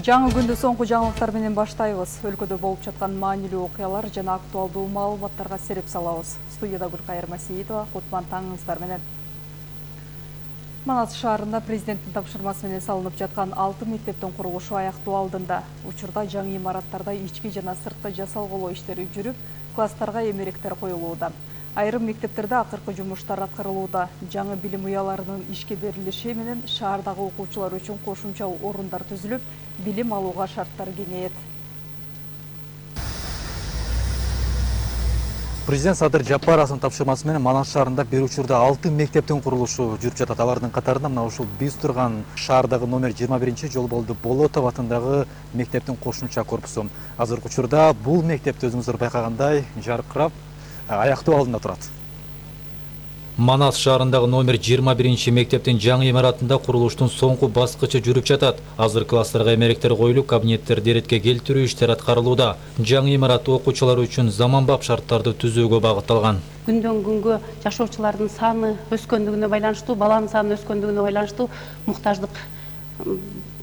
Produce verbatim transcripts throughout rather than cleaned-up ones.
Жаңы күндү соңку жаңылыктар менен баштайбыз. Өлкөдө болуп жаткан маанилүү окуялар жана актуалдуу маалыматтарга сереп салабыз. Студияда Гүлкайыр Масиитова, Кутман таңыңыздар менен. Манас шаарында президенттин тапшырмасы менен салынып жаткан алты мектептин курулушу аяктоо алдында. Учурда жаңы имараттарда ички жана сырткы жасалгылоо иштери жүрүп, класстарга эмеректер коюлууда. Айрым мектептерде акыркы жумуштар аткарылууда. Жаңы билим уяларынын ишке берилиши менен шаардагы окуучулар үчүн кошумча орундар түзүлүп, билим алууга шарттар кеңейет. Президент Садыр Жапаровдун тапшырмасы менен Манас шаарында бир учурда алты мектептин курулушу жүрүп жатат. Алардын катарында мына ушул биз турган шаардагы номер жыйырма биринчи Жолболду Болотов атындагы мектептин кошумча корпусу. Азыркы учурда бул мектепти өзүңүздөр байкагандай жаркырап аяктоо алдында турат. Манас шаарындагы номер жыйырма биринчи мектептин жаңы имаратында курулуштун соңку баскычы жүрүп жатат. Азыр класстарга эмеректер коюлуп, кабинеттерди иретке келтирүү иштери аткарылууда. Жаңы имарат окуучулар үчүн заманбап шарттарды түзүүгө багытталган. Күндөн күнгө жашоочулардын саны өскөндүгүнө байланыштуу, баланын саны өскөндүгүнө байланыштуу муктаждык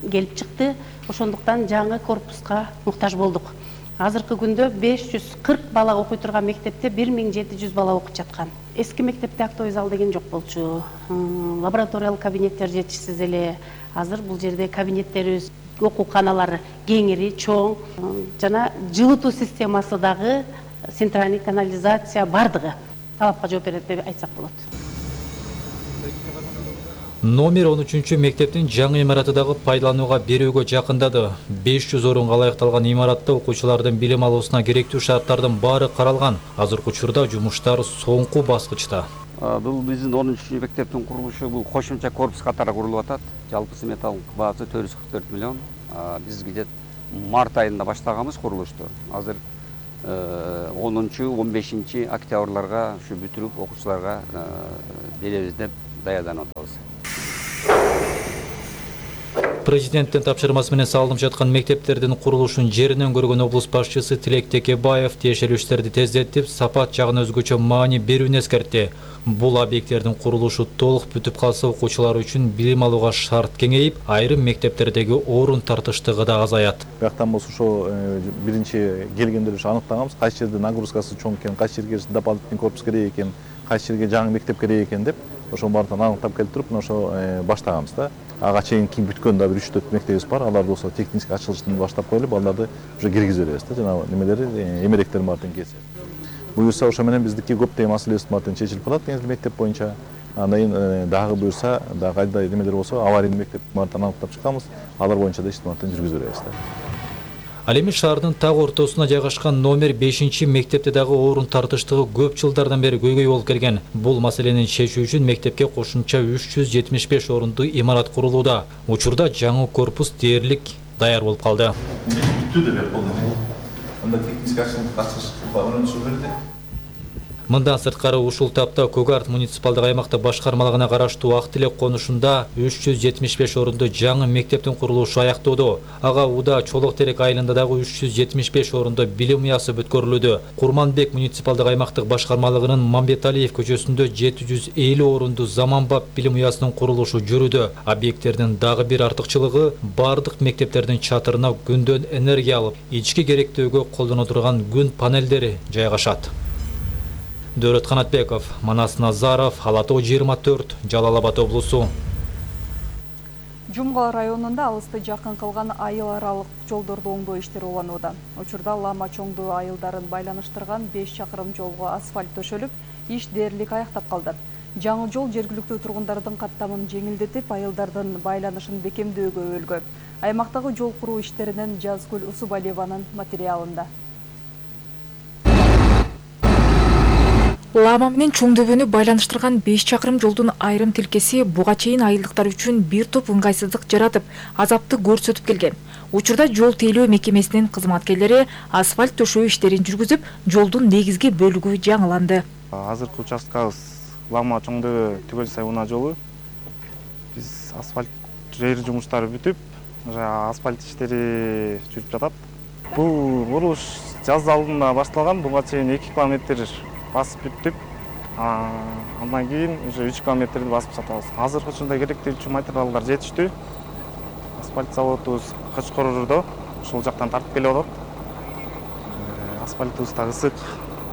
келип чыкты. Ошондуктан жаңы корпуска муктаж болдук. Азыркы күндө беш жүз кырк бала окуй турган мектепте бир миң жети жүз бала окуп жаткан. Эски мектепте актовый зал деген жок болчу. Лабораториялык кабинеттер жетишсиз эле. Азыр бул жерде кабинеттерибиз, окууканалар кеңири, чоң жана жылытуу системасы дагы, центральный канализация бардыгы талапка жооп берет деп айтсак болот. Номер он үчүнчү мектептин жаңы имараты дагы пайдаланууга берүүгө жакындады. беш жүз орунга ылайыкталган имаратта окуучулардын билим алуусуна керектүү шарттардын баары каралган. Азыркы учурда жумуштар соңку баскычта. Бул биздин он үчүнчү мектептин курулушу бул кошумча корпус катары курулуп атат. Жалпы сметалык баасы төрт жүз кырк төрт миллион. Биз где март айында баштаганбыз курулушту. Азыр онунчу он бешинчи октябрларга ушу бүтүрүп окуучуларга беребиз деп даярданып атабыз. Президенттин тапшырмасы менен салынып жаткан мектептердин курулушун жеринен көргөн облус башчысы Тилек Текебаев тиешелүү иштерди тездетип, сапат жагын өзгөчө маани берүүнү эскертти. Бул объекттердин курулушу толук бүтүп калса, окуучулар үчүн билим алууга шарт кеңейип, айрым мектептердеги орун тартыштыгы да азаят. Бияктан болсо ошо биринчи келгендер үчүн аныктаганбыз, кайсы жерде нагрузкасы чоң экен, кайсы жерге дополнительный корпус керек экен, кайсы жерге жаңы мектеп керек экен деп ошо баардыгын аныктап келтирип, ошо баштаганбыз да. Ага чейин кийин бүткөн да бир үч төрт мектебибиз бар. Аларды болсо техник ачылыштан баштап коюлуп, аларды уже киргизип беребиз да, жана немелери эмеректер баардыгын келсе. Буюрса ошо менен биздики көптөгөн маселебиз баардыгы чечилип калат негизги мектеп боюнча. Андан кийин дагы буюрса, дагы кайда немелер болсо, аварийный мектеп баардыгын аныктап чыкканбыз. Алар боюнча да иштин жүргүзүп беребиз да. Ал эми шаардын так ортосуна жайгашкан номер бешинчи мектепте дагы орун тартыштыгы көп жылдардан бери көйгөй болуп келген. Бул маселени чечүү үчүн мектепке кошумча үч жүз жетимиш беш орунду имарат курулууда. Учурда жаңы корпус дээрлик даяр болуп калды. Бүттү деп болду. Анда техник ачылыш өнөтүшү берди. Мындан сырткары ушул тапта Көгарт муниципалдык аймакта башкармалыгына караштуу Ак Тилек конушунда үч жүз жетимиш беш орунду жаңы мектептин курулушу аяктоодо. Ага Уда Чолок Терек айылында дагы үч жүз жетимиш беш орунду билим уясы бүткөрүлүүдө. Курманбек муниципалдык аймактык башкармалыгынын Мамбеталиев көчөсүндө жети жүз элүү орунду заманбап билим уясынын курулушу жүрүүдө. Объекттердин дагы бир артыкчылыгы бардык мектептердин чатырына күндөн энергия алып, ички керектөөгө колдоно турган күн панелдери жайгашат. Дөрөт Канатбеков, Манас Назаров, Ала Тоо жыйырма төрт, Жалал Абад облусу. Жумгал районунда алысты жакын кылган айыл аралык жолдорду оңдоо иштери уланууда. Учурда Лама Чоңду айылдарын байланыштырган беш чакырым жолго асфальт төшөлүп, иш дээрлик аяктап калды. Жаңы жол жергиликтүү тургундардын каттамын жеңилдетип, айылдардын байланышын бекемдөөгө өлгө. Аймактагы жол куруу иштеринен Жазгүл Усубалиеванын материалында. Лама менен Чоңдөбөнү байланыштырган беш чакырым жолдун айрым тилкеси буга чейин айылдыктар үчүн бир топ ыңгайсыздык жаратып, азапты көрсөтүп келген. Учурда жол тейлөө мекемесинин кызматкерлери асфальт төшөө иштерин жүргүзүп, жолдун негизги бөлүгү жаңыланды. Азыркы участкабыз Лама Чоңдөбө Түгөл Сайуна жолу. Биз асфальт жер жумуштары бүтүп, асфальт иштери жүрүп жатат. Бул курулуш жаз алдында башталган, буга чейин эки километр басып бүттүк. Андан кийин уже үч километрди басып жатабыз. Азыркы учурда керектүү материалдар жетиштүү. асфальт заводубуз Качкордо, ошол жактан тартып келип атат. Асфальтыбыз да ысык,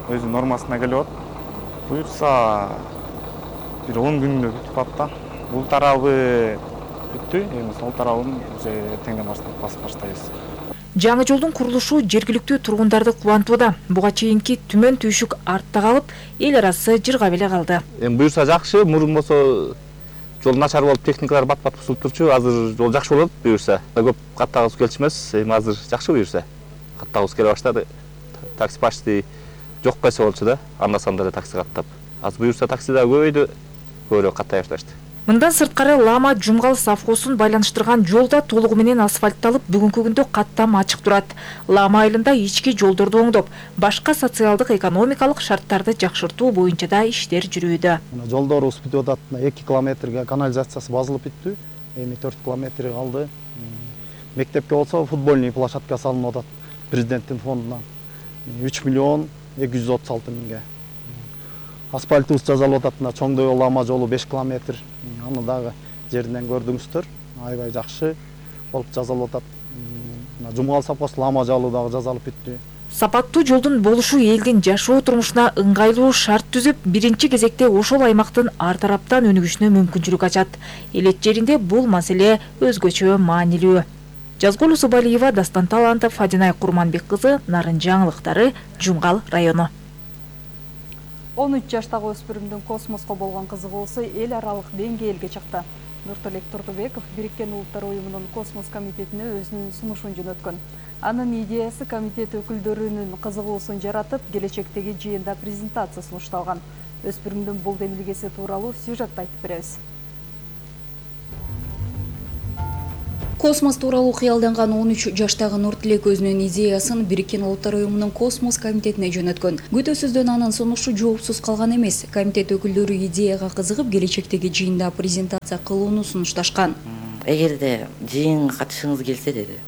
өзүнүн нормасына келип атат. Буюрса бир он күндө бүтүп атат да. Бул тарабы бүттү, эми сол тарабын уже эртеңден баштап басып баштайбыз. Жаңы жолдун курулушу жергиликтүү тургундарды кубантууда. Буга чейинки түмөн түйшүк артта калып, эл арасы жыргап эле калды. Эми буюрса жакшы, мурун болсо жол начар болуп, техникалар бат-бат бузулуп турчу. Азыр жол жакшы болот буюрса. Көп каттагыбыз келчү эмес, эми азыр жакшы буюрса. Каттагыбыз келе баштады. Такси почти жок койсо болчу да, анда-санда эле такси каттап. Азыр буюрса такси да көбөйдү, көбүрөөк каттай башташты. Мындан сырткары Лама Жумгал совхозун байланыштырган жол да толугу менен асфальтталып, бүгүнкү күндө каттам ачык турат. Лама айылында ички жолдорду оңдоп, башка социалдык экономикалык шарттарды жакшыртуу боюнча да иштер жүрүүдө. Жолдорубуз бүтүп атат. эки километрге канализациясы базылып бүттү. Эми төрт километр калды. Мектепке болсо футбольный площадка салынып атат президенттин фондунан. үч миллион эки жүз отуз алты миңге. Асфальтыбыз жазалып атат. Чоңдой Лама жолу беш километр. Аны дагы жеринен көрдүңүздөр. Аябай жакшы болуп жазалып атат. Жумгал совхоз Лама жолу дагы жазалып бүттү. Сапаттуу жолдун болушу элдин жашоо турмушуна ыңгайлуу шарт түзүп, биринчи кезекте ошол аймактын ар тараптан өнүгүшүнө мүмкүнчүлүк ачат. Элет жеринде бул маселе өзгөчө маанилүү. Жазгол Усубалиева, Дастан Талантов, Фадинай Курманбек кызы, Нарын жаңылыктары, Жумгал району. он үч жаштагы өспүрүмдүн космоско болгон кызыгуусу эл аралык деңгээлге чыкты. Нурталек Турдубеков Бириккен Улуттар уюмунун космос комитетине өзүнүн сунушун жөнөткөн. Анын идеясы комитет өкүлдөрүнүн кызыгуусун жаратып, келечектеги жыйында презентация сунушталган. Өспүрүмдүн бул демилгеси тууралуу сюжетти айтып беребиз. Космос тууралуу кыялданган он үч жаштагы Нуртилек өзүнүн идеясын Бириккен Улуттар уюмунун космос комитетине жөнөткөн. Күтүүсүздөн анын сунушу жоопсуз калган эмес. Комитет өкүлдөрү идеяга кызыгып, келечектеги жыйында презентация кылууну сунушташкан. Эгерде жыйынга катышыңыз келсе деди,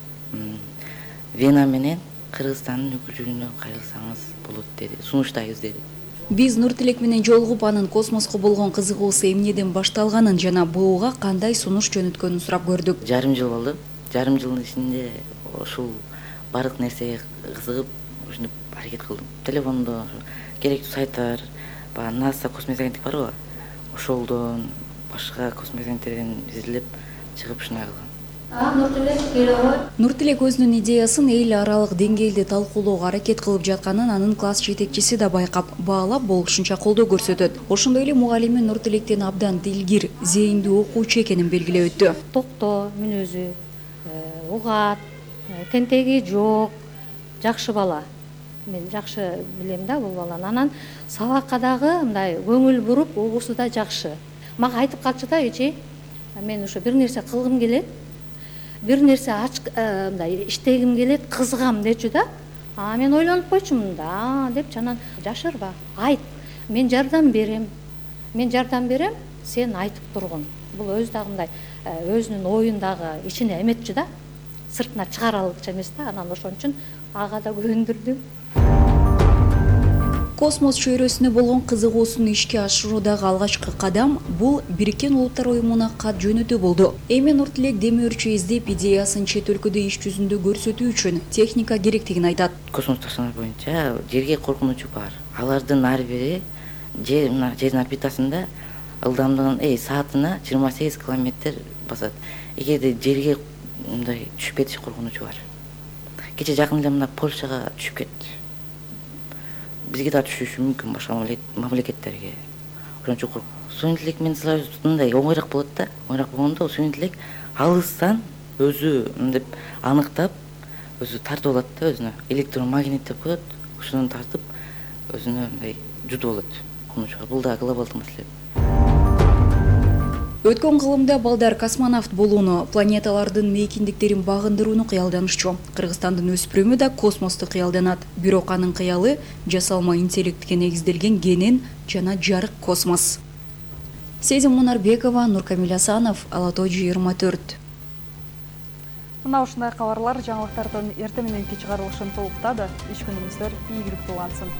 Вена менен Кыргызстандын өкүлдүгүнө кайрылсаңыз болот деди. Сунуштайбыз деди. Биз Нуртилек менен жолугуп, анын космоско болгон кызыгуусу эмнеден башталганын жана буга кандай сунуш жөнөткөнүн сурап көрдүк. Жарым жыл болду. Жарым жылдын ичинде ушул бардык нерсеге кызыгып, ушинтип аракет кылдым. Телефондо керектүү сайттар, баягы NASA космос агенттик барбы? Ошолдон башка космос агенттиктерден изилдеп чыгып ушундай кылгам. Нуртилек өзүнүн идеясын эл аралык деңгээлде талкуулоого аракет кылып жатканын анын класс жетекчиси да байкап, баалап болушунча колдоо көрсөтөт. Ошондой эле мугалими Нуртилектен абдан дилгир, зээндүү окуучу экенин белгилеп өттү. Токтоо мүнөзү, угат, тентеги жок, жакшы бала. Мен жакшы билем да бул баланы. Анан сабакка дагы мындай көңүл буруп, угуусу да жакшы. Мага айтып калчу да, эчи, мен ошо бир нерсе кылгым келет. Бир нерсе ач мындай иштегим келет, кызыгам дечү да. А мен ойлонуп койчумун да, деп жанан жашырба, айт. Мен жардам берем. Мен жардам берем, сен айтып тургун. Бул өз дагы мындай өзүнүн оюн дагы ичине эметчү да. Сыртына чыгаралыкча эмес да. Анан ошон үчүн ага да көндүрдүм. Космос чөйрөсүнө болгон кызыгуусун ишке ашыруудагы алгачкы кадам бул Бириккен Улуттар уюмуна кат жөнөтүү болду. Эми Нуртилек демөөрчү издеп идеясын чет өлкөдө иш жүзүндө көрсөтүү үчүн техника керектигин айтат. Космос ташкыны боюнча жерге коркунучу бар. Алардын ар бири жер мына жердин орбитасында ылдамдыгын эй саатына жыйырма сегиз километр басат. Эгерде жерге мындай түшүп кетиш коркунучу бар. Кече жакын эле мына Польшага түшүп кетти. Бизге да түшүшү мүмкүн башка мамлекеттерге. Ошон үчүн суун интеллект менен мындай оңойраак болот да. Оңойраак болгондо суун интеллект алыстан өзү мынтип аныктап, өзү тартып алат да өзүнө. Электромагнит деп коет. Ошондон тартып өзүнө мындай жутуп алат. Конучуга бул да глобалдык маселе. Өткөн кылымда балдар космонавт болууну, планеталардын мейкиндиктерин багындырууну кыялданышчу. Кыргызстандын өспүрүмү да космосту кыялданат. Бирок анын кыялы жасалма интеллектке негизделген генен жана жарык космос. Сезим Мунарбекова, Нуркамил Асанов, Ала той жыйырма төрт. Мына ушундай кабарлар жаңылыктардын эртең мененки чыгарылышын толуктады. Иш күнүңүздөр ийгиликтүү улансын.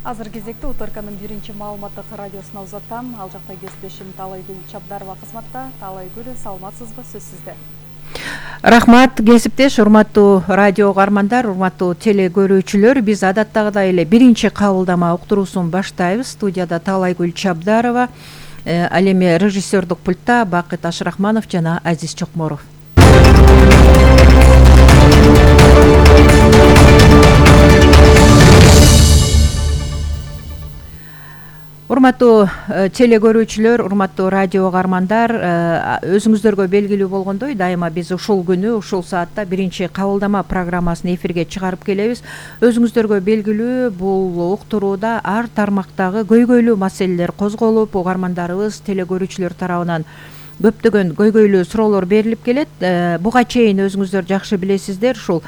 Азыр кезекте Утарканын биринчи маалыматтык радиосуна узатам. Ал жакта кесиптешим Талайгүл Чабдарова кызматта. Талайгүл, саламатсызбы, сөз сизде. Рахмат, кесиптеш, урматтуу радио угармандар, урматтуу теле көрүүчүлөр. Биз адаттагыдай эле биринчи кабылдама уктуруусун баштайбыз. Студияда Талайгүл Чабдарова, ал эми режиссердук пультта Бакыт Ашрахманов жана Азиз Чокморов. Урматтуу теле көрүүчүлөр, урматтуу радио угармандар, өзүңүздөргө белгилүү болгондой, дайыма биз ушул күнү, ушул саатта биринчи кабылдама программасын эфирге чыгарып келебиз. Өзүңүздөргө белгилүү, бул уктурууда ар тармактагы көйгөйлүү маселелер козголуп, угармандарыбыз, теле көрүүчүлөр тарабынан көптөгөн көйгөйлүү суроолор берилип келет. Буга чейин өзүңүздөр жакшы билесиздер, ушул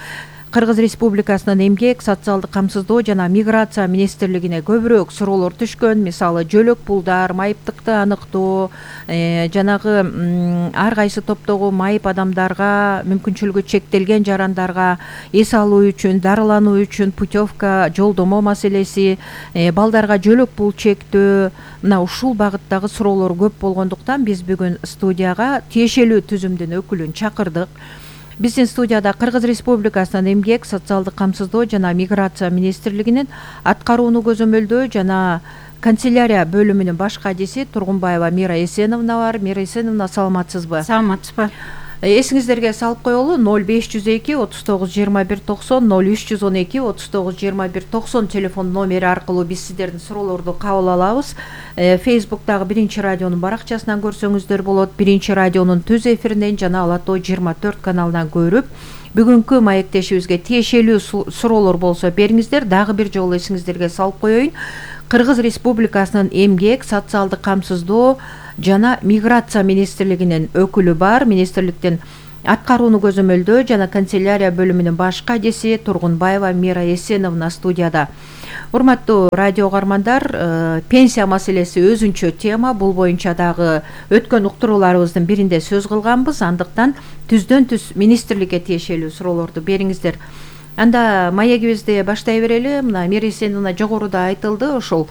Кыргыз Республикасынын эмгек, социалдык камсыздоо жана миграция министрлигине көбүрөөк суроолор түшкөн. Мисалы, жөлөк пулдар, майыптыкты аныктоо, жанагы ар кайсы топтогу майып адамдарга, мүмкүнчүлүгү чектелген жарандарга эс алуу үчүн, дарылануу үчүн путевка, жолдомо маселеси, балдарга жөлөк пул чектөө, мына ушул багыттагы суроолор көп болгондуктан биз бүгүн студияга тиешелүү түзүмдүн өкүлүн чакырдык. Биздин студияда Кыргыз Республикасынын эмгек, социалдык камсыздоо жана миграция министрлигинин аткарууну көзөмөлдөө жана канцелярия бөлүмүнүн баш кадиси Тургунбаева Мира Эсеновна бар. Мира Эсеновна, саламатсызбы? Саламатсызбы. Эсиңиздерге салып коелу, ноль беш жүз эки отуз тогуз жыйырма бир токсон, ноль үч жүз он эки отуз тогуз жыйырма бир токсон телефон номери аркылуу биз сиздердин суроолорду кабыл алабыз. Фейсбуктагы биринчи радионун баракчасынан көрсөңүздөр болот. Биринчи радионун түз эфиринен жана Ала Тоо жыйырма төрт каналынан көрүп, бүгүнкү маектешибизге тиешелүү суроолор болсо бериңиздер. Дагы бир жолу эсиңиздерге салып коеюн. Кыргыз Республикасынын эмгек, социалдык камсыздоо жана миграция министрлигинин өкүлү бар. Министрликтин аткарууну көзөмөлдөө жана канцелярия бөлүмүнүн баш кадиси Тургунбаева Мира Эсеновна студияда. Урматтуу радио угармандар, пенсия маселеси өзүнчө тема. Бул боюнча дагы өткөн уктурууларыбыздын биринде сөз кылганбыз. Андыктан түздөн түз министрликке тиешелүү суроолорду бериңиздер. Анда маегибизди баштай берели. Мына Мира Эсеновна жогоруда айтылды, ошол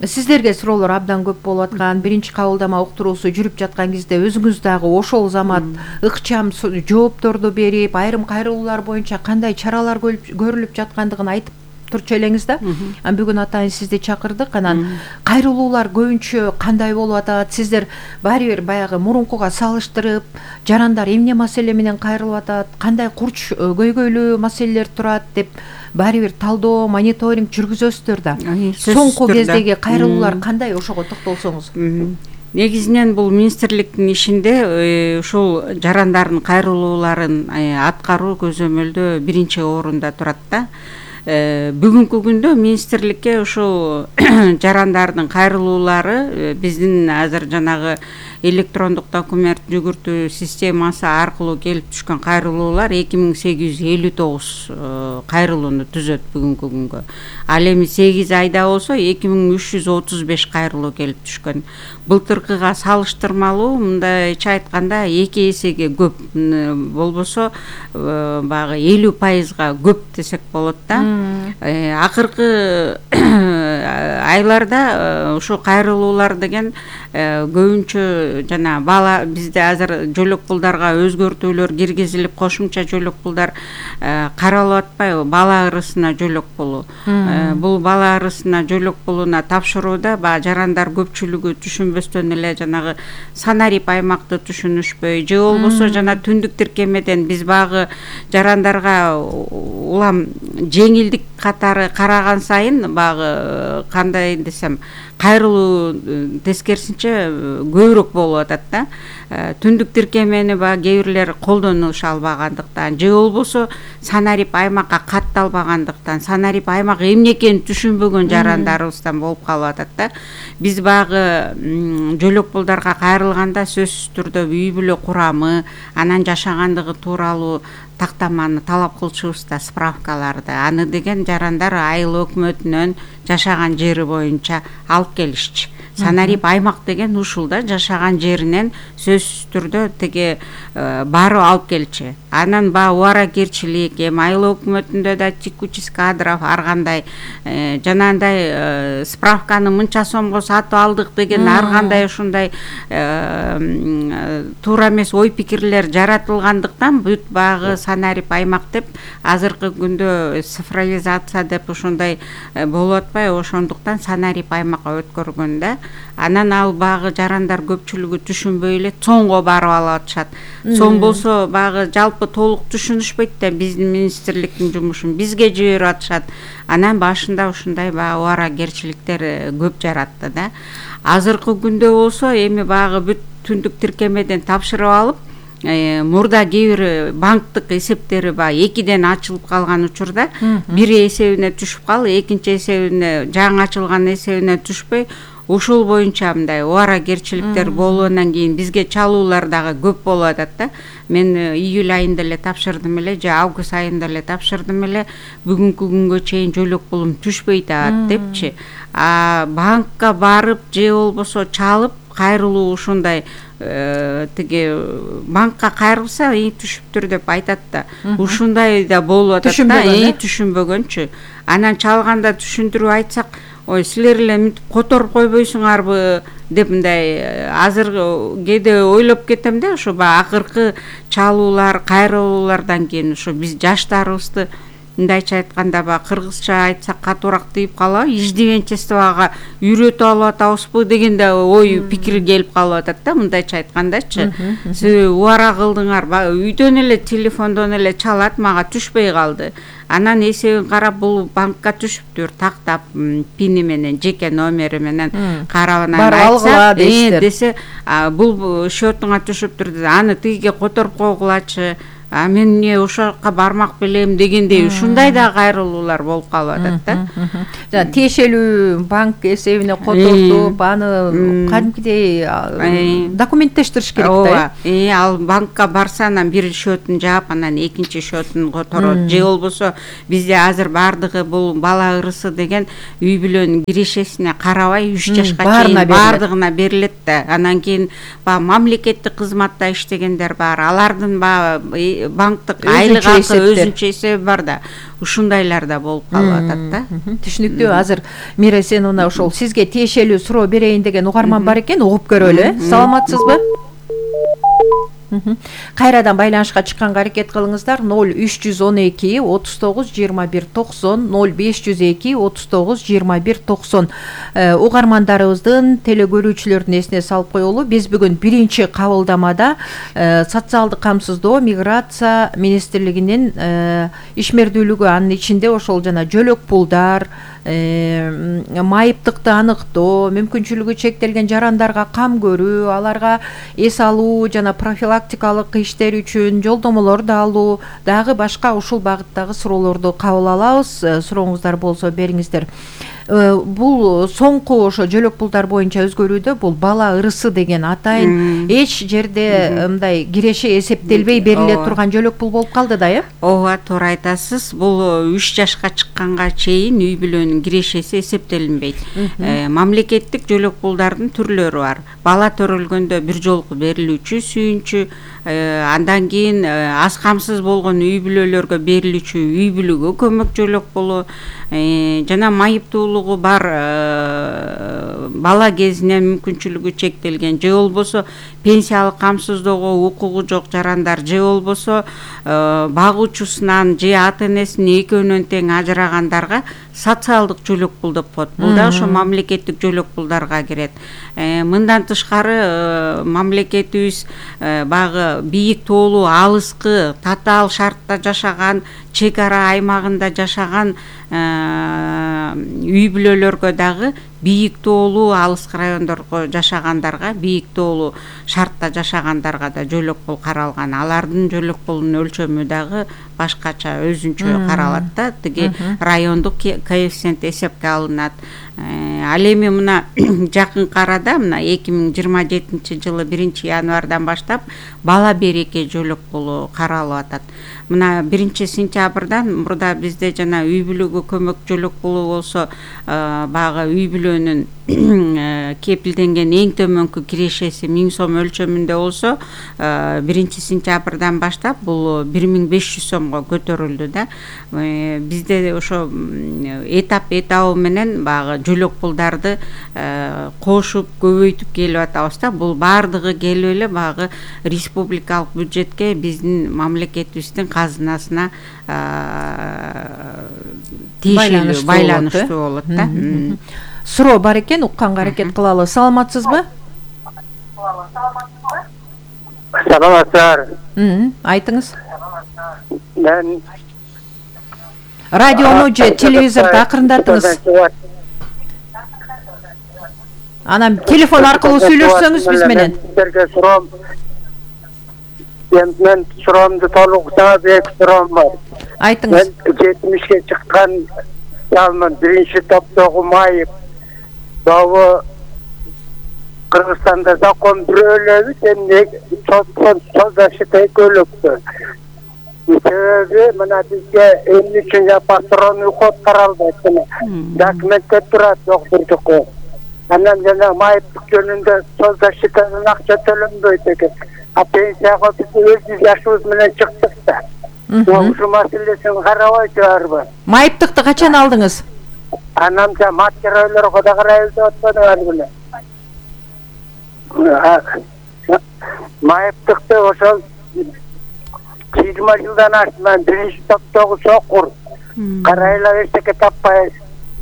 сиздерге суроолор абдан көп болуп аткан, биринчи кабылдама уктуруусу жүрүп жаткан кезде өзүңүз дагы ошол замат ыкчам жоопторду берип, айрым кайрылуулар боюнча кандай чаралар көрүлүп жаткандыгын айтып турчу элеңиз да. Бүгүн атайын сизди чакырдык. Анан кайрылуулар көбүнчө кандай болуп атат? Сиздер баары бир баягы мурункуга салыштырып, жарандар эмне маселе менен кайрылып атат, кандай курч көйгөйлүү маселелер турат деп баары бир талдоо, мониторинг жүргүзөсүздөр да. Соңку кездеги кайрылуулар кандай, ошого токтолсоңуз? Негизинен бул министрликтин ишинде ушул жарандардын кайрылууларын аткаруу көзөмөлдөө биринчи орунда турат да. Бүгүнкү күндө министрликке ушул жарандардын кайрылуулары биздин азыр жанагы электрондук документ жүгүртүү системасы аркылуу келип түшкөн кайрылуулар эки миң сегиз жүз элүү тогуз кайрылууну түзөт бүгүнкү күнгө. Ал эми сегиз айда болсо эки миң үч жүз отуз беш кайрылуу келип түшкөн. Былтыркыга салыштырмалуу, мындайча айтканда эки эсеге көп, болбосо баягы элүү пайызга көп десек болот да. Акыркы айларда ушул кайрылуулар деген көбүнчө жана бала бизде азыр жөлөк пулдарга өзгөртүүлөр киргизилип, кошумча жөлөк пулдар каралып атпайбы? Бала ырысына жөлөк пулу. Бул бала ырысына жөлөк пулуна тапшырууда баягы жарандар көпчүлүгү түшүнбөстөн эле жанагы санарип аймакты түшүнүшпөй, же болбосо жана түндүк тиркемеден биз баягы жарандарга улам жеңилдик катары караган сайын баягы кандай десем кайрылуу тескерисинче көбүрөөк болуп атат да. Түндүк тиркемени баягы кээ бирлер колдонуша албагандыктан, же болбосо санарип аймакка катталбагандыктан, санарип аймак эмне экенин түшүнбөгөн жарандарыбыздан болуп калып атат да. Биз баягы жөлөк пулдарга кайрылганда сөзсүз түрдө үй бүлө курамы, анан жашагандыгы тууралуу тактаманы талап кылчубуз да, справкаларды. Аны деген жарандар айыл өкмөтүнөн жашаган жери боюнча алып келишчи. Санарип аймак деген ушул да, жашаган жеринен сөзсүз түрдө теге баары алып келчи. анан баягы убаракерчилик эми айыл өкмөтүндө да текучесть кадров ар кандай жанагындай справканы мынча сомго сатып алдык деген ар кандай ушундай туура эмес ой пикирлер жаратылгандыктан бүт баягы санарип аймак деп азыркы күндө цифровизация деп ушундай болуп атпайбы, ошондуктан санарип аймакка өткөргөн да. Анан ал баягы жарандар көпчүлүгү түшүнбөй эле цонго барып алып атышат. Цон болсо баягы жалпы толук түшүнүшпөйт да биздин министрликтин жумушун бизге жиберип атышат. Анан башында ушундай баягы убаракерчиликтер көп жаратты да. Азыркы күндө болсо эми баягы бүт түндүк тиркемеден тапшырып алып, мурда кээ бир банктык эсептери баягы экиден ачылып калган учурда бири эсебине түшүп калып, экинчи эсебине жаңы ачылган эсебине түшпөй, ушул боюнча мындай убаракерчиликтер болгондон кийин бизге чалуулар дагы көп болуп атат да. Мен июль айында эле тапшырдым эле, же август айында эле тапшырдым эле, бүгүнкү күнгө чейин жөлөк пулум түшпөй атат депчи. А банкка барып же болбосо чалып кайрылуу ушундай тиги банкка кайрылса эң түшүптүр деп айтат да. Ушундай да болуп атат да, эң түшүнбөгөнчү. Анан чалганда түшүндүрүп айтсак, ой силер эле мынтип которуп койбойсуңарбы деп мындай азыр кээде ойлоп кетем да, ошо баягы акыркы чалуулар, кайрылуулардан кийин ошо биз жаштарыбызды мындайча айтканда баягы кыргызча айтсак катуураак тийип калабы, иждивенчество ага үйрөтүп алып атабызбы деген да ой пикир келип калып атат да, мындайча айткандачы. Сиз убара кылдыңар, үйдөн эле телефондон эле чалат, мага түшпөй калды. Анан эсебин карап бул банкка түшүптүр, тактап пини менен, жеке номери менен карап анан айтса, десе бул счетуңа түшүптүр деп, аны тигиге которуп койгулачы, а мен эмне ошол жака бармак белем дегендей ушундай да кайрылуулар болуп калып атат да. Жана тиешелүү банк эсебине котортуп, аны кадимкидей документтештириш керек да. Э, ал банкка барса анан бир счетун жаап, анан экинчи счетун которот. Же болбосо бизде азыр бардыгы бул бала ырысы деген үй бүлөнүн кирешесине карабай үч жашка чейин бардыгына берилет да. Анан кийин баягы мамлекеттик кызматта иштегендер бар, алардын баягы банктык айлык акы өзүнчө эсеби бар да. Ушундайлар да болуп калып атат да. Түшүнүктүү. Азыр Мира, сен мына ошол сизге тиешелүү суроо берейин деген угарман бар экен, угуп көрөлү. Саламатсызбы? Кайрадан байланышка чыкканга аракет кылыңыздар. ноль үч жүз он эки отуз тогуз жыйырма бир токсон, ноль беш жүз эки отуз тогуз жыйырма бир токсон. Угармандарыбыздын, телекөрүүчүлөрдүн эсине салып коелу, биз бүгүн биринчи кабылдамада социалдык камсыздоо, миграция министрлигинин ишмердүүлүгү, анын ичинде ошол жана жөлөк пулдар, майыптыкты аныктоо, мүмкүнчүлүгү чектелген жарандарга кам көрүү, аларга эс алуу жана профилактикалык иштер үчүн жолдомолорду алуу, дагы башка ушул багыттагы суроолорду кабыл алабыз. Сурооңуздар болсо бериңиздер. Бул соңку ошо жөлөк пулдар боюнча өзгөрүүдө бул бала ырысы деген атайын эч жерде мындай киреше эсептелбей бериле турган жөлөк пул болуп калды да, э? Ооба, туура айтасыз. Бул үч жашка чыкканга чейин үй бүлөнүн кирешеси эсептелинбейт. Мамлекеттик жөлөк пулдардын түрлөрү бар. Бала төрөлгөндө бир жолку берилүүчү, сүйүнчү, андан кийин аз камсыз болгон үй бүлөлөргө берилүүчү үй бүлөгө көмөк жөлөк пулу, жана майыптуулугу бар бала кезинен мүмкүнчүлүгү чектелген, же болбосо пенсиялык камсыздоого укугу жок жарандар, же болбосо багуучусунан же ата энесинин экөөнөн тең ажырагандарга социалдык жөлөк пул деп коет. Бул да ошо мамлекеттик жөлөк пулдарга кирет. Мындан тышкары мамлекетибиз баягы бийик тоолуу, алыскы, татаал шартта жашаган, чек ара аймагында жашаган үй бүлөлөргө дагы бийик тоолуу, алыскы райондорго жашагандарга, бийик тоолуу шартта жашагандарга да жөлөк пул каралган. Алардын жөлөк пулунун өлчөмү дагы башкача өзүнчө каралат да. Тиги райондук коэффициент эсепке алынат. Ал эми мына жакынкы арада, мына эки миң жыйырма жетинчи жылы биринчи январдан баштап бала береке жөлөк пулу каралып атат. Мына биринчи сентябрдан мурда бизде жана үй бүлөгө көмөк жөлөк пулу болсо, баягы үй бүлөнүн кепилденген эң төмөнкү кирешеси миң сом өлчөмүндө болсо биринчи сентябрдан баштап бул бир миң беш жүз сомго көтөрүлдү да. Бизде ошо этап этабы менен баягы жөлөк пулдарды кошуп көбөйтүп келип атабыз да. Бул баардыгы келип эле баягы республикалык бюджетке биздин мамлекетибиздин казынасына тиешелүү байланыштуу болот да. Суроо бар экен, укканга аракет кылалы. Саламатсызбы? Саламатсыздар. Айтыңыз. Мен радиону же телевизорду акырындатыңыз. Анан телефон аркылуу сүйлөшсөңүз биз менен. Силерге суроом. Мен суроомду толук сага бек суроом бар. Айтыңыз. Мен жетимишке чыккан жалмын, биринчи топтогу майып. Дагы Кыргызстанда закон бирөөлөбү, сен создашты экөөлөктү. Себеби мына бизге эмне үчүн патрон уход каралбайт, документте турат доктурдуку. Анан жана майыптык жөнүндө создашытадан акча төлөнбөйт экен. А пенсияга биз өз жашыбыз менен чыктык да. Ушул маселесин карабайсыздарбы? Майыптыкты качан алдыңыз? Анам да материалдерге да карайбыз деп атпадыңар беле. Майыптыкты ошол жыйырма жылдан ашты, мен биринчи топтогу сокур. Карайлар эчтеке таппай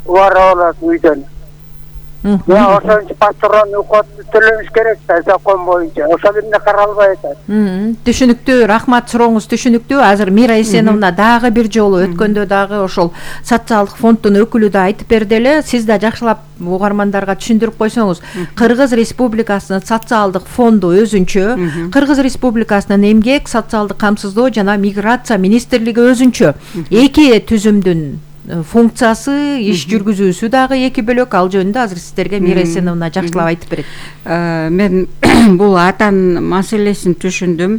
убара болот үйдөн. Я ошончу патрон уходду төлөш керек да закон боюнча. Ошол эмне каралбай атат. Түшүнүктүү, рахмат, сурооңуз түшүнүктүү. Азыр Мира Эсеновна дагы бир жолу өткөндө дагы ошол социалдык фонддун өкүлү да айтып берди эле. Сиз да жакшылап угармандарга түшүндүрүп койсоңуз, Кыргыз Республикасынын социалдык фонду өзүнчө, Кыргыз Республикасынын эмгек, социалдык камсыздоо жана миграция министрлиги өзүнчө. Эки түзүмдүн функциясы, иш жүргүзүүсү дагы эки бөлөк. Ал жөнүндө азыр сиздерге Мира Эсеновна жакшылап айтып берет. Мен бул атан маселесин түшүндүм.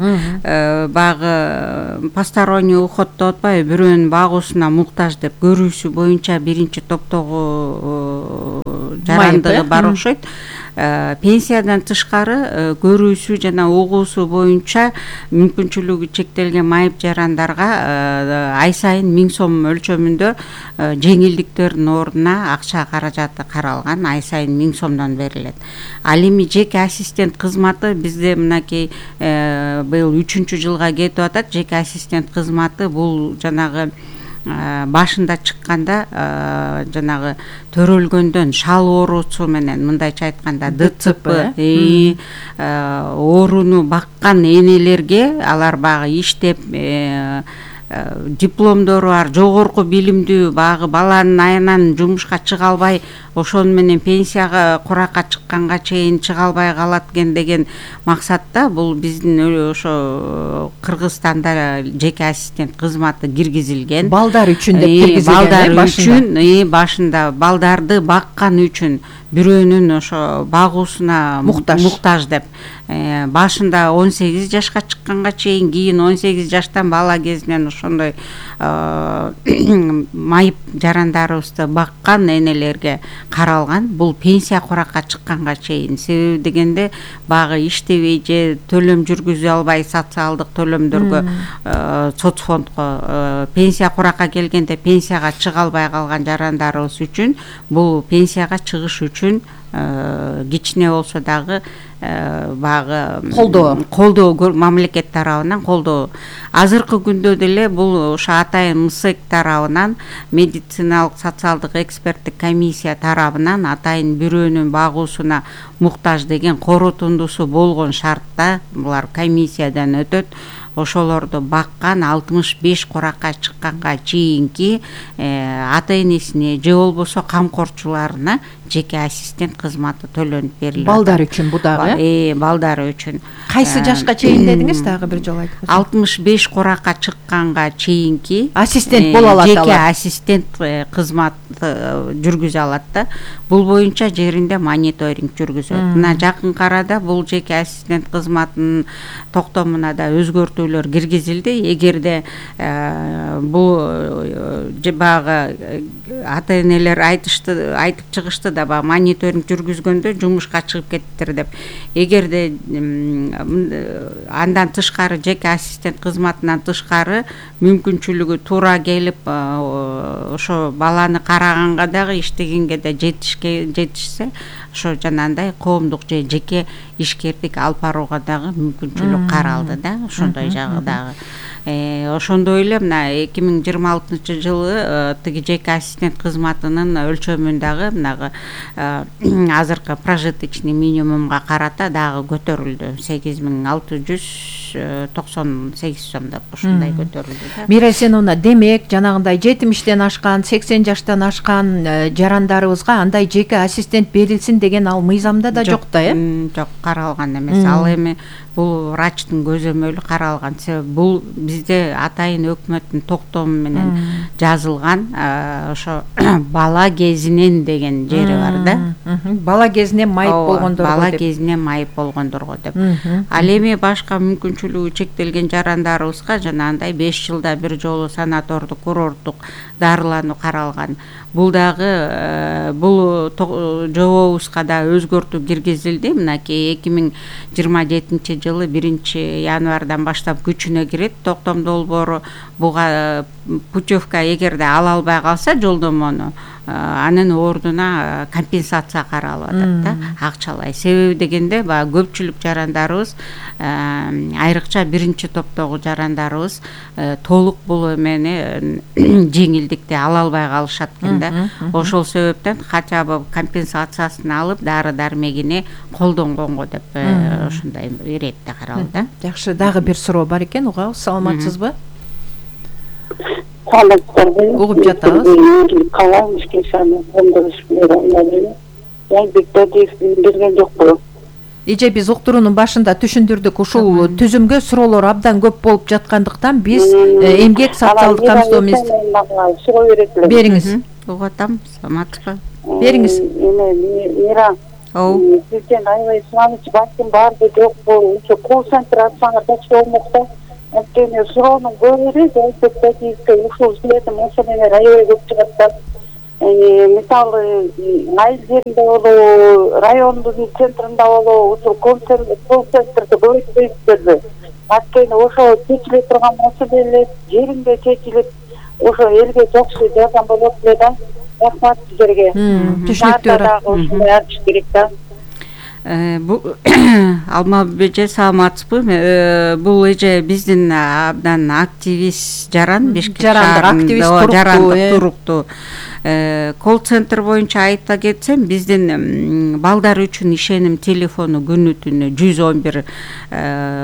Багы посторонний уход деп атпайбы, бирөөнүн багуусуна муктаж деп көрүүсү боюнча биринчи топтогу жарандыгы бар окшойт. Пенсиядан тышкары көрүүсү жана угуусу боюнча мүмкүнчүлүгү чектелген майып жарандарга ай сайын миң сом өлчөмүндө жеңилдиктердин ордуна акча каражаты каралган, ай сайын миң сомдон берилет. Ал эми жеке ассистент кызматы бизде мынакей быйыл үчүнчү жылга кетип атат. Жеке ассистент кызматы бул жанагы башында чыкканда жанагы төрөлгөндөн шал оорусу менен, мындайча айтканда Д Ц П ооруну баккан энелерге, алар багы иштеп дипломдору бар, жогорку билимдүү, багы баланын айынан жумушка чыга албай, ошону менен пенсияга куракка чыкканга чейин чыга албай калат экен деген максатта бул биздин ошо Кыргызстанда жеке ассистент кызматы киргизилген. Балдар үчүн деп киргизилген. Балдар үчүн, башында балдарды баккан үчүн бирөөнүн ошо багуусуна муктаж деп. Башында он сегиз жашка чыкканга чейин, кийин он сегиз жаштан бала кезинен ошондой майып жарандарыбызды баккан энелерге каралган. Бул пенсия куракка чыкканга чейин. Себеби дегенде багы иштебей же төлөм жүргүзө албай социалдык төлөмдөргө, соцфондго пенсия куракка келгенде пенсияга чыга албай калган жарандарыбыз үчүн бул пенсияга чыгыш үчүн кичине болсо дагы багы колдоо колдоо мамлекет тарабынан колдоо. Азыркы күндө деле бул ошо атайын МСЭК тарабынан, медициналык социалдык эксперттик комиссия тарабынан атайын бирөөнүн багуусуна муктаж деген корутундусу болгон шартта булар комиссиядан өтөт. Ошолорду баккан алтымыш беш куракка чыкканга чейинки ата-энесине же болбосо камкорчуларына жеке ассистент кызматы төлөнүп берилет. Балдар үчүн бу дагы э балдар үчүн. Кайсы жашка чейин дедиңиз, дагы бир жолу айтып көрсөңүз. алтымыш беш куракка чыкканга чейинки ассистент боло алат алар. Жеке ассистент кызмат жүргүзө алат да. Бул боюнча жеринде мониторинг жүргүзөт. Мына жакынкы арада бул жеке ассистент кызматынын токтомуна да өзгөртүүлөр киргизилди. Эгерде бул баягы ата-энелер айтышты, айтып чыгышты да, баягы мониторинг жүргүзгөндө жумушка чыгып кеттиптир деп. Эгерде андан тышкары, жеке ассистент кызматынан тышкары мүмкүнчүлүгү туура келип ошо баланы караганга дагы, иштегенге да жетишке жетишсе, ошо жанагындай коомдук же жеке ишкердик алып барууга дагы мүмкүнчүлүк каралды да, ошондой жагы дагы. Ошондой эле мына эки миң жыйырма алтынчы жылы тиги жеке ассистент кызматынын өлчөмүн дагы мынагы азыркы прожиточный минимумга карата дагы көтөрүлдү. сегиз миң алты жүз токсон сегиз сом деп ошондой көтөрүлдү. Мирай Сеновна, демек жанагындай жетимиштен ашкан, сексен жаштан ашкан жарандарыбызга андай жеке ассистент берилсин деген ал мыйзамда да жок да, э? Жок, каралган эмес. Ал эми бул врачтын көзөмөлү каралган. Себеби бул бизде атайын өкмөттүн токтому менен жазылган ошо бала кезинен деген жери бар да. Бала кезинен майып болгондорго бала деп. кезинен майып болгондорго деп. Ал эми башка мүмкүнчүлүгү чектелген жарандарыбызга жанагындай беш жылда бир жолу санатордук, курорттук дарылануу каралган. Бул дагы бул жобобузга да өзгөртүү киргизилди. Мынакей эки миң жыйырма жетинчи жылы биринчи январдан баштап күчүнө кирет токтом долбоору. Буга путевка эгерде ала албай калса жолдомону, анын ордуна компенсация каралып атат да, акчалай. Себеби дегенде баягы көпчүлүк жарандарыбыз, айрыкча биринчи топтогу жарандарыбыз толук бул эмени жеңилдикти ала албай калышат экен да. Ошол себептен хотя бы компенсациясын алып дары дармегине колдонгонго деп ошондой иретте каралды да. Жакшы, дагы бир суроо бар экен, угабыз. Саламатсызбы? Угуп жатабыз. берген жокпу? Эже биз уктуруунун башында түшүндүрдүк, ушул түзүмгө суроолор абдан көп болуп жаткандыктан биз эмгек социалдык камсыздоо министрлиги суроо берет элем. Бериңиз. Угуп атам, саламатсызбы? Бериңиз. Мира, сизден аябай сунамчы банктын баарды жокпу? Ошо колл-центр ачсаңар жакшы болмок да. Анткени суроонун көбүрү статистика ушул силердин маселелер аябай көп чыгат да. Мисалы, айыл жеринде болобу, райондун центринде болобу, ушул колл-центрди көбөйтпөйсүздөрбү? Анткени ошо чечиле турган маселелер жеринде чечилип, ошо элге жакшы жардам болот эле да. Рахмат сиздерге. Түшүнүктүү. Ушундай ачыш керек да. Бул Алмабек эже, саламатсызбы? Бул эже биздин абдан активист жаран, Бишкек шаарында жарандык туруктуу. Колл-центр боюнча айта кетсем, биздин балдар үчүн ишеним телефону күнү түнү жүз он бир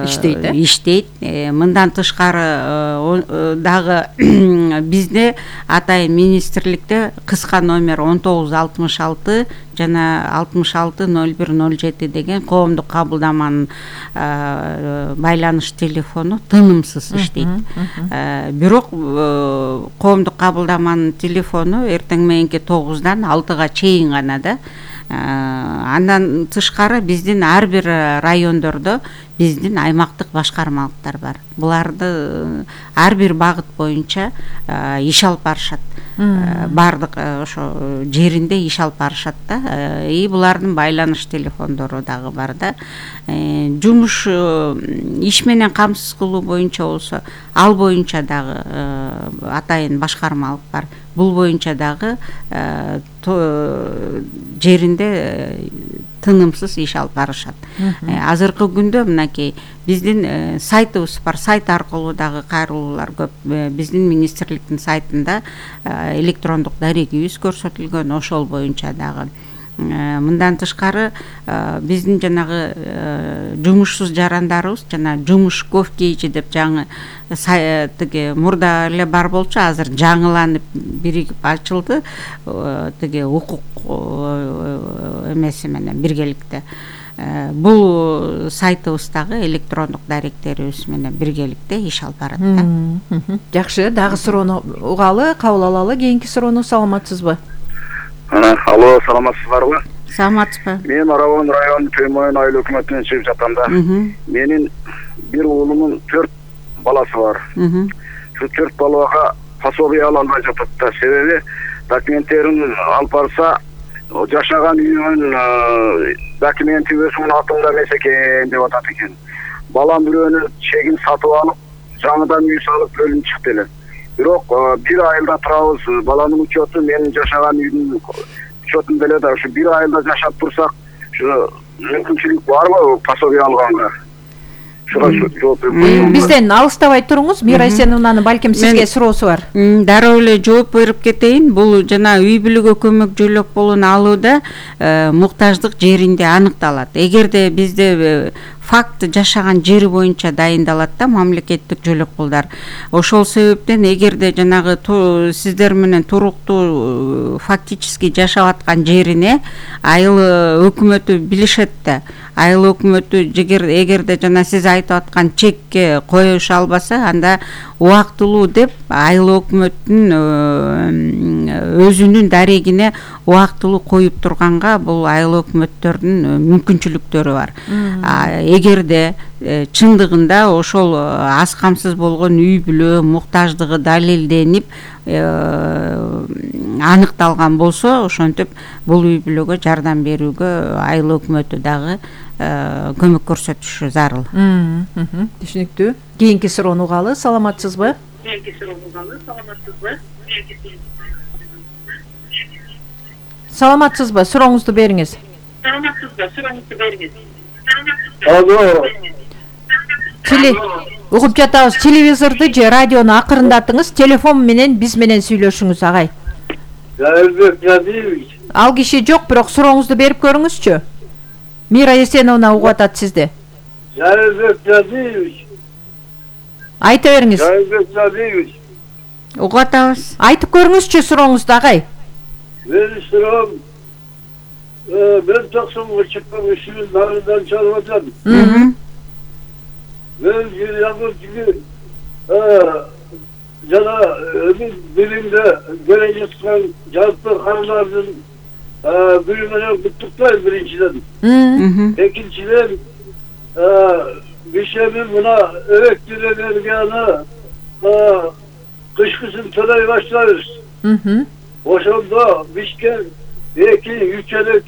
иштейт. Иштейт. Мындан тышкары дагы бизде атайын министрликте кыска номер он тогуз алтымыш алты жана алтымыш алты ноль бир ноль жети деген коомдук кабылдаманын байланыш телефону тынымсыз иштейт. Бирок коомдук кабылдаманын телефону эртең мененки тогуздан алтыга чейин гана да. Андан тышкары биздин ар бир райондордо биздин аймактык башкармалыктар бар. Буларды ар бир багыт боюнча иш алып барышат. Бардык ошо жеринде иш алып барышат да. И булардын байланыш телефондору дагы бар да. Жумуш иш менен камсыз кылуу боюнча болсо, ал боюнча дагы атайын башкармалык бар. Бул боюнча дагы жеринде тынымсыз иш алып барышат. Азыркы күндө мынакей биздин сайтыбыз бар, сайт аркылуу дагы кайрылуулар көп. Биздин министрликтин сайтында электрондук дарегибиз көрсөтүлгөн, ошол боюнча дагы. Мындан тышкары биздин жанагы жумушсуз жарандарыбыз жана жумуш ковкейчи деп жаңы тиги мурда эле бар болчу, азыр жаңыланып биригип ачылды. Тиги укук эмеси менен биргеликте. бул сайтыбыздагы электрондук даректерибиз менен биргеликте иш алып барат да. Жакшы, дагы суроону угалы, кабыл алалы. Кийинки суроону саламатсызбы? Алло, саламатсыздарбы? Саламатсызбы? Мен Арабон району Төмөн айыл өкмөтүнөн чыгып жатам да. Менин бир уулумдун төрт баласы бар. Şu төрт балага пособие ала албай жатат да. Себеби документтерин алып барса, жашаган үйүнүн документи өзүнүн атында эмес экен деп атат экен. Балам бирөөнүн чегин сатып алып, жаңыдан үй салып бөлүнүп чыкты эле. Бирок бир айылда турабыз, баланын учету менин жашаган үйдүн учетунда эле да. Ушу бир айылда жашап турсак, ушу мүмкүнчүлүк барбы пособие алганга? Бизден алыстабай туруңуз, Мира Эсеновнанын балким сизге суроосу бар. Дароо эле жооп берип кетейин. Бул жана үй бүлөгө көмөк жөлөк болуну алууда муктаждык жеринде аныкталат. Эгерде бизде факт жашаган жери боюнча дайындалат да мамлекеттик жөлөк пулдар. Ошол себептен эгерде жанагы сиздер менен туруктуу фактически жашап аткан жерине айыл өкмөтү билишет да. Айыл өкмөтү эгерде жана сиз айтып аткан чекке коюша албаса, анда убактылуу деп айыл өкмөттүн өзүнүн дарегине убактылуу коюп турганга бул айыл өкмөттөрдүн мүмкүнчүлүктөрү бар. Эгерде чындыгында ошол аз камсыз болгон үй бүлө муктаждыгы далилденип аныкталган болсо, ошентип бул үй бүлөгө жардам берүүгө айыл өкмөтү дагы көмөк көрсөтүшү зарыл. Түшүнүктүү. Кийинки суроону угалы. Саламатсызбы? Кийинки суроону угалы. Саламатсызбы? Саламатсызбы? Сурооңузду бериңиз. Саламатсызбы? Сурооңузду бериңиз. Алло. Теле угуп жатабыз. Телевизорду же радиону акырындатыңыз. Телефон менен биз менен сүйлөшүңүз, агай. Жайылбек Жадиевич. Ал киши жок, бирок сурооңузду берип көрүңүзчү. Мира Эсеновна угуп атат сизди. Жайылбек Жадиевич. Айта бериңиз. Жайылбек Жадиевич. Угуп атабыз. Айтып көрүңүзчү сурооңузду, агай. Менин суроом, мен токсонго чыккан ишин нарындан чыгып атам. Мен жер жана билимде келе жаткан жалпы кандардын бири менен куттуктайм биринчиден. Экинчиден бишемин мына электр энергияны кышкысын төлөй баштайбыз. Ошондо бишке эки үч эле